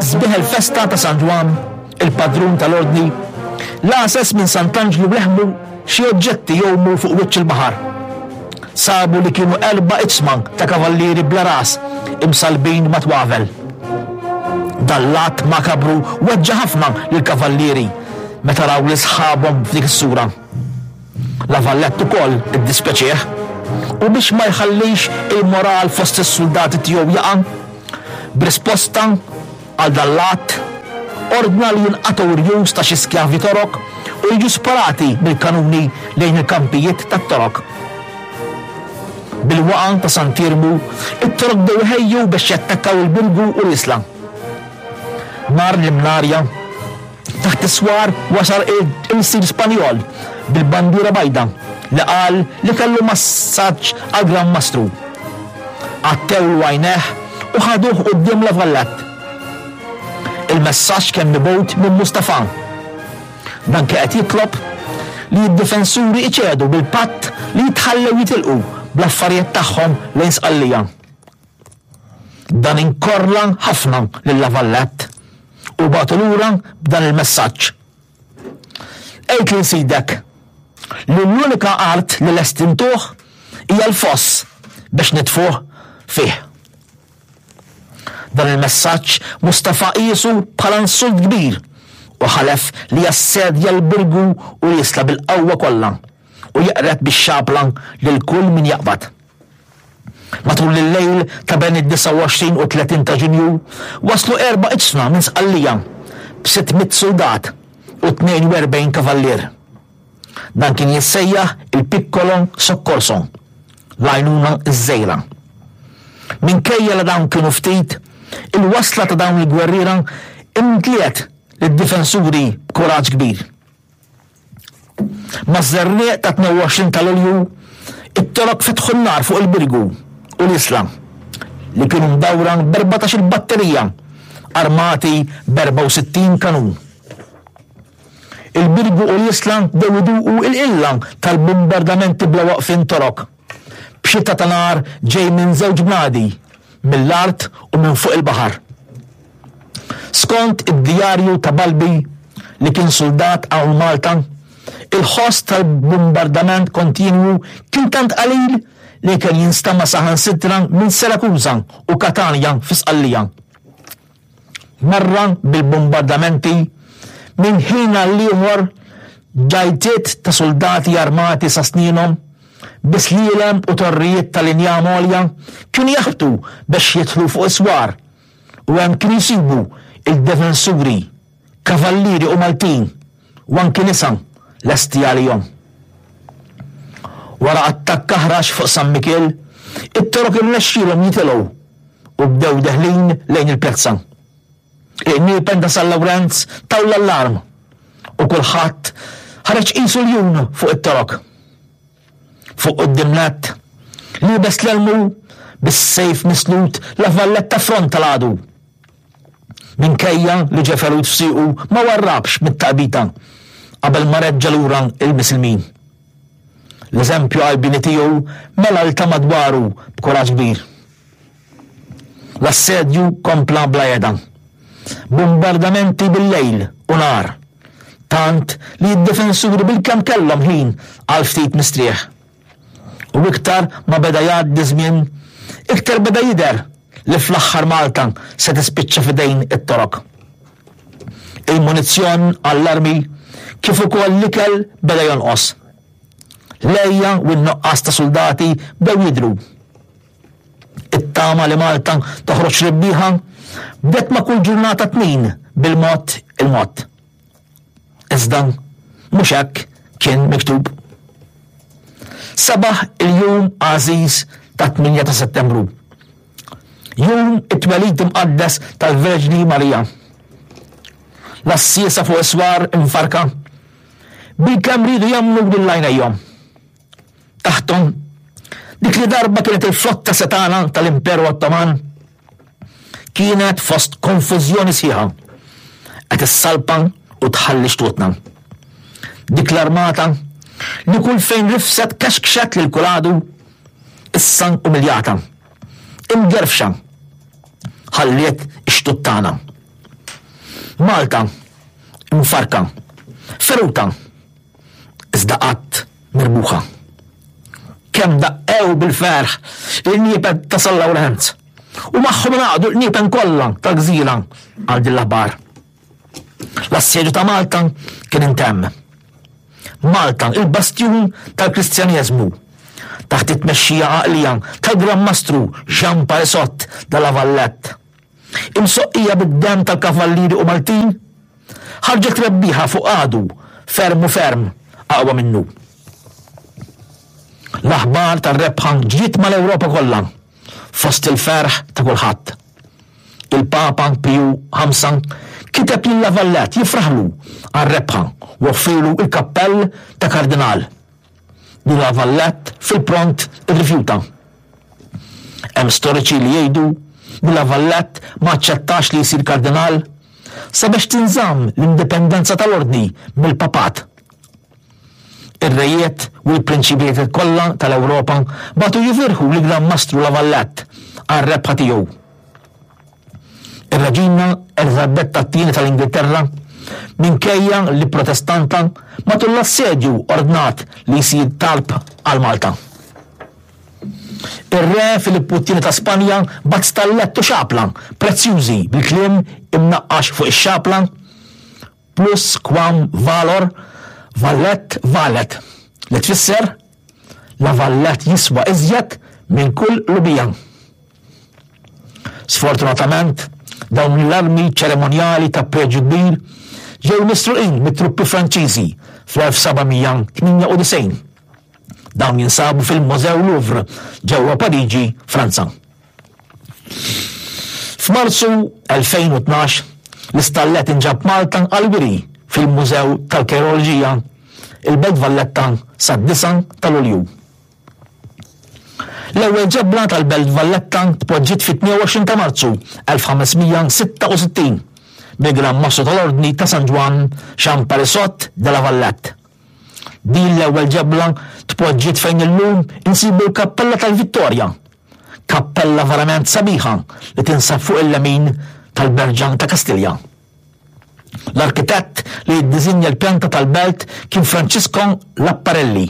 Sbieħ il-festa ta' San Ġwann, il-padrun tal-Ordni, l-għases minn Sant'Anġlu leħmu xi oġġetti jgħumu fuq wiċċ il-baħar. Sabu li kienu erba' iġsma ta' kavallieri bla ras imsallbin ma' twavel. Dan l-att makabru weġġa' ħafna lill-kavallieri meta raw lil sħabhom f'dik is-sura. La Vallette ukoll iddispjaċieh u biex ma jħallix il-moral fost is-suldati tiegħu jaqa', b'risposta għal dan l-att, ordna li jinqatgħu rjus ta' xi skjavi Torok u jiġu sparati mill-kanuni lejn il-kampijiet tat-Torok. Bil-waqgħa ta' Sant'Iermu, it-Torok bdew iħejju biex jattakkaw il-Birgu u l-Isla. Nhar l-Imnarja, taħt is-swar wasal il-ilsir Spanjol bil-bandiera bajda li qal li kellu massaġġ għall-Gran Mastru. Għattewlu għajnejh u ħaduh quddiem La Valette. Il-messaġġ kien mibgħut minn Mustafà. Dan kien qed jitlob li d-difensuri iċedu bil-patt li jitħallew jitilqu bl-affarijiet tagħhom lejn Sqallija. Dan inkorla ħafna lil La Valette u bagħtu lura b'dan il-messaġġ. Għid lil sidek li l-unika art li lest intuh hija l-foss biex nitfuh fih. Dan il-messaġġ Mustafa qiesu bħala insult kbir u ħalef li jassedja l-Birgu u l-Isla bil-qawwa kollha u jeqred bix-xabla lil kull min jaqbad. Matul il-lejl ta' bejn id-29 u 30 ta' Ġunju waslu erba' iġsma minn Sqallija b'600 suldat u 42 kavallier. Dan kien jissejjaħ il-Piccolo Soccorso, l-għajnuna ż-żgħira. Minkejja li dawn kienu ftit, il-wasla ta' dawn il-gwerriera imtliet lid-difensuri b'kuraġġ kbir. Maż-żerniq ta' 22 ta' Lulju, it-Torok fetħu n-nar fuq il-Birgu u l-Isla, li kienu mdawra b'erbatax-il batterija armati b'64 kanun. Il-Birgu u l-Isla bdew iduqu l-qilla tal-bumbardamenti bla waqfien Torok, b'xita ta' nar ġej minn żewġ bnadi, mill-art u minn fuq il-baħar. Skont id-djarju ta' Balbi, li kien suldat hawn Malta, il-ħoss tal-bumbardament kontinwu kien tant qalil li kien jinstama' saħansitra minn Sirakuża u Katanja fi Sqallija. Marra bil-bumbardamenti, minn ħin għall-ieħor ġajtiet ta' suldati armati sa snienhom, bi slielem u torrijiet tal-injam għolja kienu jaħbtu biex jidħlu fuq is-swar u hemm kienu jsibu il-defensuri, kavallieri u Maltin u anki nisa lesti għalihom. Wara attakk aħrax fuq San Mikiel, it-Torok irnexxielhom jitilgħu u bdew deħlin lejn il-pjazza. Il-qniepen ta' San Lawrenz taw l-allarm u kulħadd ħareġ qisu ljun fuq it-Torok. Fuq quddiem nett, liebes l-elmu bis-sejf mislut La Valletta affronta l-għadu. Minkejja li ġie ferut f'siequ ma warrabx mit-taqbita qabel ma reġġa' lura l-Misilmin. L-eżempju qalbieni tiegħu mela 'l ta' madwaru b'kuraġġ kbir. L-assedju kompla bla heda. Bumbardamenti bil-lejl u nhar. Tant li d-difensuri bilkemm kellhom ħin għal ftit mistrieħ. U iktar ma beda jgħaddi żmien, iktar beda jidher li fl-aħħar Malta se tispiċċa f'idejn it-Torok. Il-munizzjon għall-armi kif ukoll l-ikel beda jonqos. L-għeja u n-nuqqas ta' suldati bdew jidhru. It-tama li Malta toħroġ rebbieħa bdet ma' kull ġurnata tnin bil-mod il-mod. Iżda mhux hekk kien miktub. Sabaħ il-jum għażiż ta' 8 ta' Settembru. Jum it-twelid imqaddes tal-Verġni Marija. L-għassiesa fuq is-swar imfarka bilkemm riedu jemmnu lil għajnejhom. Taħthom, dik li darba kienet il-flotta setgħana tal-Imperu Ottoman kienet fost konfużjoni sħiħa qed issalpa u tħalli xtutna. Dik l-armata li kull fejn rifset kexkxet lil kull għadu issa umiljata, imgerfxa, ħalliet ix-xtut tagħna. Malta imfarrka, feruta, iżda qatt mirbuħa. Kemm daqqew bil-ferħ il-qniepen ta' San Lawrenz u magħhom ingħaqdu l-qniepen kollha tal-gżira għal din l-aħbar. L-assedju ta' Malta kien intemm. Malta, il-bastjun tal-Kristjaneżmu, taħt it-tmexxija għaqlija tal-Gran Mastru Jean Parisot de la Vallette, imsoqqija bid-demm tal-kavallieri u Maltin, ħarġet rebbieħa fuq għadu ferm u ferm aqwa minnu. L-aħbar tar-rebħa ġiet mal-Ewropa kollha, fost il-ferħ ta' kulħadd. Il-Papa Piju Ħamsa kiteb lil La Valette jifraħlu għar-rebħa u offrielu l-kappell ta' kardinal. Li La Valette fil-pront irrifjuta. Hemm storiċi li jgħidu li La Valette ma aċċettax li jsir kardinal sabiex tinżamm l-indipendenza tal-Ordni mill-Papat. Ir-rejiet u l-prinċipijiet kollha tal-Ewropa bagħtu jifirħu lill-Gran Mastru La Valette għar-rebħa tiegħu. Ir-Reġina Eliżabetta t-Tieni tal-Ingilterra, minkejja li Protestanta, matul l-assedju ordnat li jsir talb għal Malta. Ir-Re Filippu t-Tieni ta' Spanja bagħat stallett u xapla prezzjużi bil-kliem imnaqqax fuq ix-xapla Plus quam valor vallet valet, li tfisser La Vallet jiswa iżjed minn kull lubija. Sfortunatament, dawn l-armi ċeremonjali ta' preġju kbir ġew misruqin mit-truppi Franċiżi fl-1798. Dawn jinsabu fil-Mużew Louvre ġewwa Pariġi, Franza. F'Marzu 2012, l-istallet inġab Malta għall-wiri fil-Mużew tal-Keroloġija, il-Belt Valletta sad-9 ta' Lulju. L-ewwel ġebla tal-Belt Valletta tpoġġiet fit-22 ta' Marzu 1566 mill-Gran Mastru tal-Ordni ta' San Ġwann Jean Parisot de la Vallette. Din l-ewwel ġebla tpoġġiet fejn illum insibu l-Kappella tal-Vittorja, kappella verament sabiħa li tinsab fuq il-lemin tal-Berġa ta' Kastilja. L-arkitett li ddisinja l-pjanta tal-belt kien Francisco Lapparelli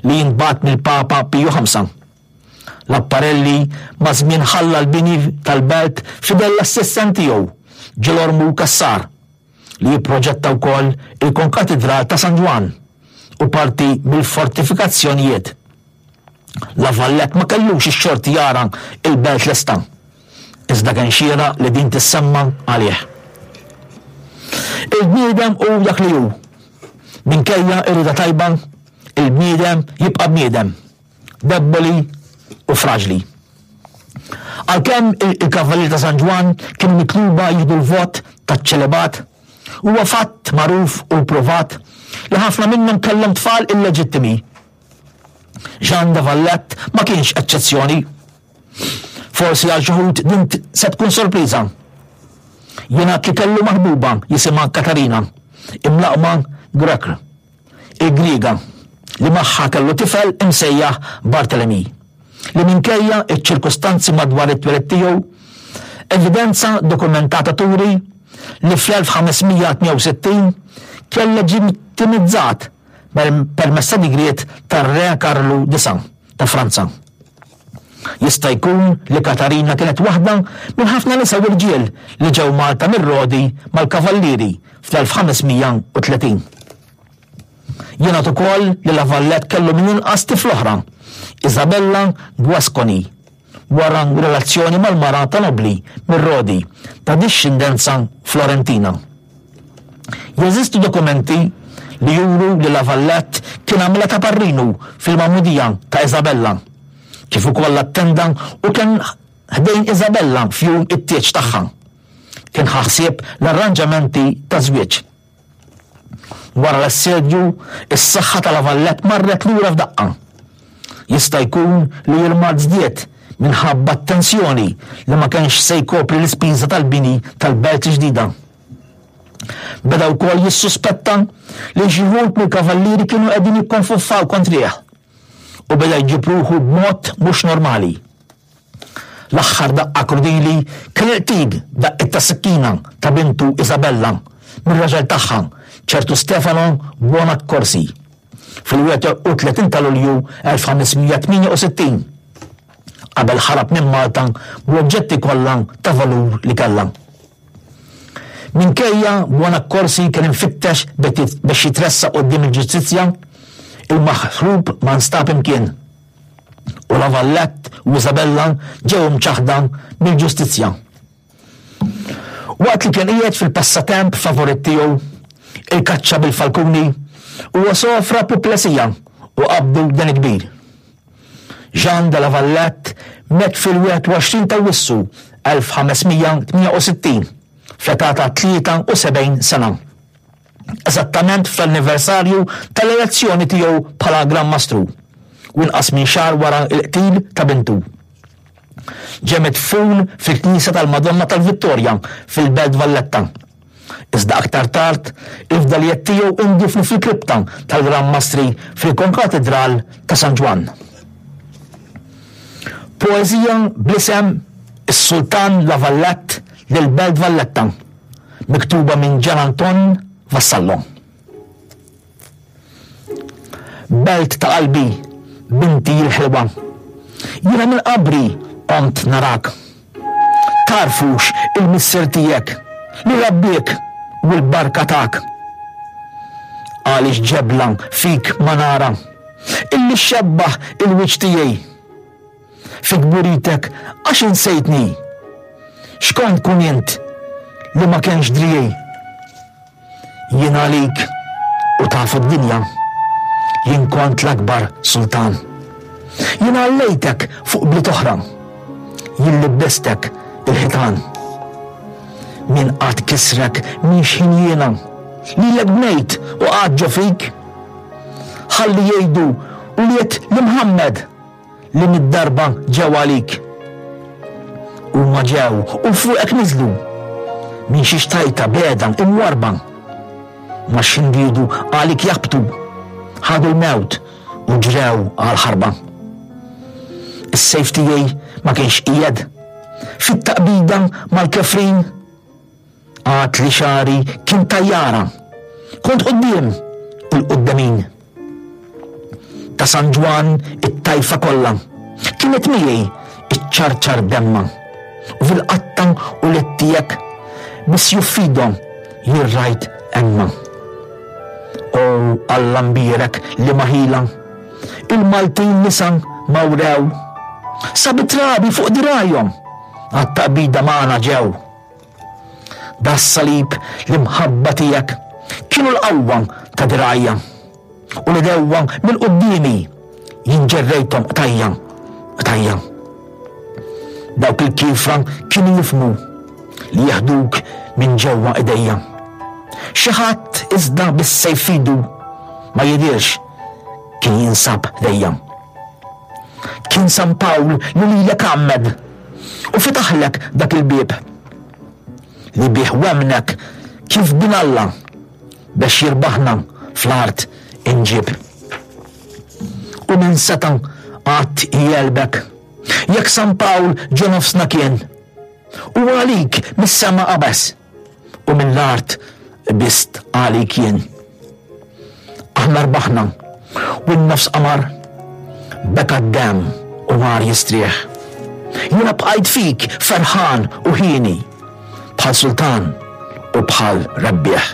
li jintbagħat mill-Papa Piju V. Lapparelli maż-żmien ħalla l-bini tal-belt f'idejn l-assistent tiegħu, Ġilormu Cassar. li jipproġetta wkoll il-Konkatidral ta' San Ġwann u parti mill-fortifikazzjonijiet. La Valette ma kellux ix-xorti jara l-belt lesta, iżda kien xieraq li din tissemma għalih. Il-bniedem hu dak li hu. Minkejja r-rieda tajba, il-bniedem jibqa' bniedem. debboli u fraġli. Għalkemm il-Kavallieri ta' San Ġwann kienu mitluba jieħdu l-vot taċ-ċelibat, huwa fatt magħruf u pprovat li ħafna minnhom kellhom tfal illeġittimi. Jean de Valette ma kienx eċċezzjoni. Forsi għal xi wħud din se tkun sorpriża. Jingħad li kellu maħbuba jisimha Katarina, imlaqqma Grekr. il-Griega, li magħha kellu tifel imsejjaħ Barthélemy, li minkejja ċ-ċirkustanzi madwar it-twelid tiegħu, evidenza dokumentata turi li fl-1568 kien leġittimizzat permezz ta' digriet tar-Re Karlu IX ta' Franza. Jista' jkun li Katarina kienet waħda minn ħafna nisa u rġiel li ġew Malta mir-Rodi mal-Kavallieri fl-1530. Jingħad ukoll li La Valette kellu mill-inqas tifla oħra, Isabella Guasconi, wara relazzjoni mal-mara ta' nobbli mir-Rodi ta' dixxindenza Florentina. Jeżistu dokumenti li juru li La Valette kien għamilha ta' parrinu fil-magħmudija ta' Isabella, kif ukoll attenda u kien ħdejn Isabella f'jum it-tieġ tagħha. Kien ħa ħsieb l-arranġamenti taż-żwieġ. Wara l-assedju, is-saħħa ta' La Valette marret lura f'daqqa. Jista' jkun li l-mard żdied minħabba t-tensjoni li ma kenx se jkopri l-ispiża tal-bini tal-belt ġdida. Beda wkoll jissuspetta li xi wħud mill-kavallieri kienu qegħdin jikkonfoffaw kontrih u beda jġib ruħu b'mod mhux normali. L-aħħar daqqa krudili kien il-qtil b'daqqiet ta' sikkina ta' bintu Isabella mir-raġel tagħha, ċertu Stefano Buonaccorsi, fil-31 ta' Lulju 1568, qabel ħarab minn Malta bl-oġġetti kollha ta' valur li kellha. Minkejja Buonaccorsi kien imfittex biex jitressaq quddiem il-ġustizzja, il-maħrub ma nstab imkien. U La Vallette u Isabella ġew imċaħħda mill-ġustizzja. Waqt li kien qiegħed fil-passatemp favorit tiegħu, il-kaċċa bil-falkuni, huwa sofra puplesija u qabdu deni kbir. Jean de La Vallette miet fil-21 ta' Awwissu 1568 fl-età ta' 73 sena. Eżattament fl-anniversarju tal-elezzjoni tiegħu bħala Gran Mastru, u inqas minn xahar wara l-qtil ta' bintu. Ġie midfun fil-Knisja tal-Madonna tal-Vittorja fil-Belt Valletta. Iżda aktar tard, il-fdalijiet tiegħu ndifnu fil-kripta tal-Gran Mastri fil-Konkatidral ta' San Ġwann. Poeżija bl-isem Is-Sultan La Vallette lill-Belt Valletta, miktuba minn Gian Anton Vassallo. Belt ta' qalbi, binti l-ħelwa. Jiena minn qabri qomt narak. Tagħrfux il-missier tiegħek li rabbiek u l-barka tak. Għaliex ġebla fik ma nara, illi xxebbaħ il-wiċċ tiegħi. Fi kburitek għax insejtni? X'kont kun int li ma kenx driegħi? Jien għalik u tafu d-dinja, jien kont l-akbar sultan. Jien għallejtek fuq bliet oħra, jien libbestek il-ħitan. Min qatt kisrek minn xħin jiena, lilek bnejt u qgħadt ġo fik. Ħalli jgħidu ulied l-Imħammed li mid-darba ġew għalik. Huma ġew u fuqek niżlu minn xi xtajta beda imwarba. Ma xindidu għalik jabtu, ħadu l-mewt u ġrew għal-ħarba. Is-sejf tiegħi ma kienx qiegħed fit-taqbida mal-kefrin Għad li xagħri kien tajjara. Kont quddiem u l-quddemin. Ta' San Ġwann it-tajfa kollha kienet miegħi iċċarċar demma. U fil-qatta u l tiegħek biss juffidhom jien rajt emma. O Alla mbierek li ma ħila, il-Maltin nisa ma wrew. Sa bit-trabi fuq dirgħajhom għat-taqbida magħna ġew. Das-salib l-imħabba tiegħek kienu l-qawwa ta' dirgħajja u l-idewwa minn quddiemi jien ġerrejthom qtajja qtajja. Dawk il-kiefra kienu jifhmu li jeħduk minn ġewwa idejja. Xi ħadd iżda bis-sejf f'idu ma jidhirx kien jinsab ħdejja. Kien San Pawl li lilek għammed u fetaħlek dak il-bieb li bih wemmnek kif bin Alla biex jirbaħna fl-art inġib. U min seta' qatt jegħlbek jekk San Pawl ġo nofsna kien u għalik mis-sema qabeż u mill-art qbist għalik jien. Aħna rbaħna u n-nofs qamar beka d-demm u mar jistrieħ. Jiena bqajt fik ferħan u hieni bħal sultan u bħal rebbieħ.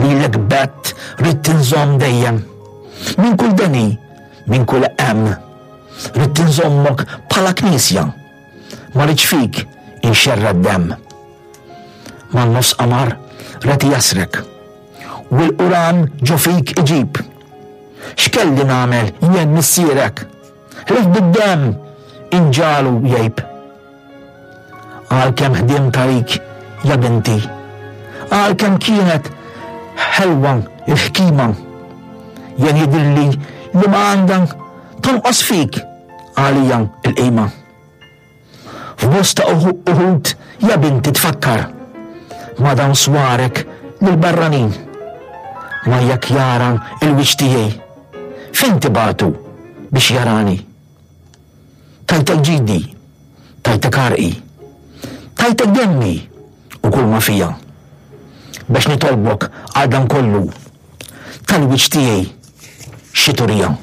Lilek bett ridt inżomm dejjem minn kull deni, minn kull hemm. Ridt inżommok bħala knisja Ma rridx fik inxerred demm. Man-nofs qamar reti jasrek. U l-Quran ġo fik iġib. X'kelli nagħmel jien missierek? Ħlief bid-demm inġagħlu jgħib. Għalkemm ħdimt għalik ja binti. Għalkemm kienet ħelwa l-ħkima. Jien jidhirli li ma għandha tonqos fik għalija l-qima. F'bosta uħud ja binti tfakkar ma' dawn swarek lill-barranin. Ma jekk jara l-wiċċ tiegħi, fejn tibagħtu biex jarani? Tajtek ġidi. Tajtek għarqi. Tajtek demmi u kull ma fija. Biex nitolbok għal dan kollu tal-wiċċ tiegħi xi turija.